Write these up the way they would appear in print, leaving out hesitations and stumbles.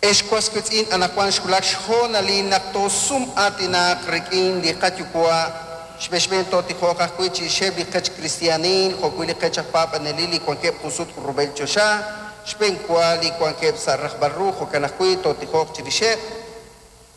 Ex was wiitz'in, anaqwan xwulak xhoonalil naq toosum-aatinaq rik'in li qaYuwa'. Xb'een xb'een tootijoq ajwi' chirixeb' li qech kristiaanil jo'wi' li qech aj paab'anelil li wankeb' junsut rub'el choxa, xb'eenwa li wankeb' sa' rajb'al ru, jo'kan ajwi' tootijoq chirixeb'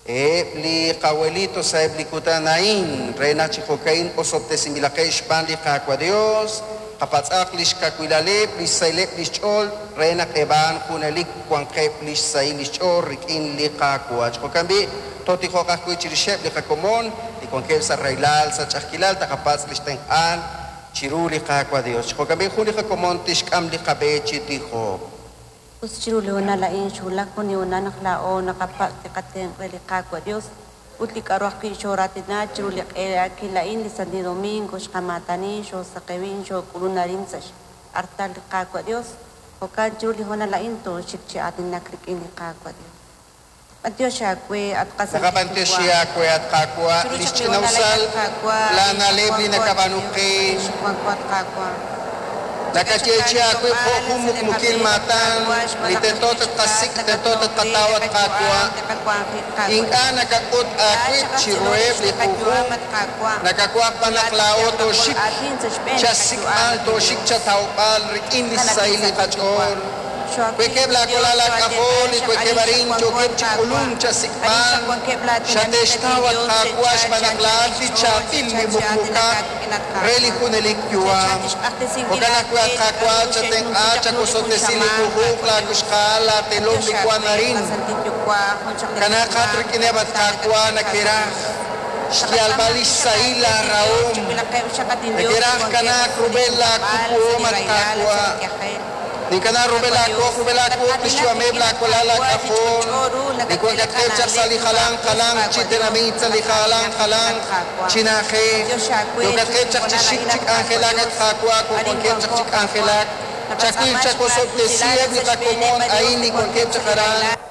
eb' li qawelito sa'eb' li kutan a'in, re naq chi jo'ka'in osob'tesinb'ilaqeb' xb'aan li Qaawa' Dios, qapatz'aq li xkawilaleb', li xsahileb' li xch'ool, re naq eb' a'an junelik wanqeb' li xsahil li xch'ool rik'in li Qaawa'. Chi jo'kan b'i', tootijoq ajwi' chirixeb' li qakomon li wankeb' sa' rahilal, sa' ch'a'ajkilal, taqapatz' li xtenq'aal chiru li Qaawa' Dios. Chi jo'kan b'i', jun li qakomon tixk'am li qab'e chi tijok. Us chiru li hoonal a'in xwulak jun li hoonal naq laa'o naqapatz' li qatenq' re li Qaawa' Dios ut li k'a'ru ajwi' xooraatina chiru li q'eelakil a'in li Santil Domingo xqamaatani xoosaqewin xook'ulun arin sa' x'artal li Qaawa' Dios. Jo'kan chiru li hoonal a'in tooxik chi aatinak rik'in li Qaawa' Dios. B'antiox aawe, at qasantil Naqab'antioxi Yuwa'. aawe, at Qaawa', Chiru li chaq li hoonal xch'ina'usal a'in, at Qaawa', laana'leb' li nakab'aanu qe. Wanko, at Qaawa'. Nakayeechi aawib' jo' jun muqmukil maatan li tento tatqasik', tento tatqataw, at Qaawa'. Ink'a' nakak'ut aawib' chiruheb' li junjunq, nakawaj b'an naq laa'o tooxik chasik'b'al, tooxik chatawb'al rik'in li xsahil li qach'ool. Wankeb' laawalal laak'ajol li wankeb' arin yookeb' chi k'ulunk chasik'b'al, xate'xtaw, at Qaawa', xb'aan naq laa'at li chaab'il li muqmukat re li junelik yu'am. Jo'kan ajwi', at Qaawa', chatenq'a, chawosob'tesi li junjunq laawixqa'al, laatelom li wank arin. Kanaaqat rik'ineb', at Qaawa', neke'raj xyalb'al li xsahil laarahom, neke'raj kanaak rub'el laakupuhom, at Qaawa'. Ninkana rub'el laawoq, rub'el laawuq li xyu'ameb' laawalal laak'ajol li wankatqeb' chaq sa' li jalanq jalanq chi tenamit, sa' li jalanq jalanq chi na'ajej. Yookatqeb' chaq chi xik chi k'anjelak, at Qaawa', wankeb' chaq chi k'anjelak. Chawil, chawosob'tesiheb' li qakomon a'in li wankeb' chaq aran.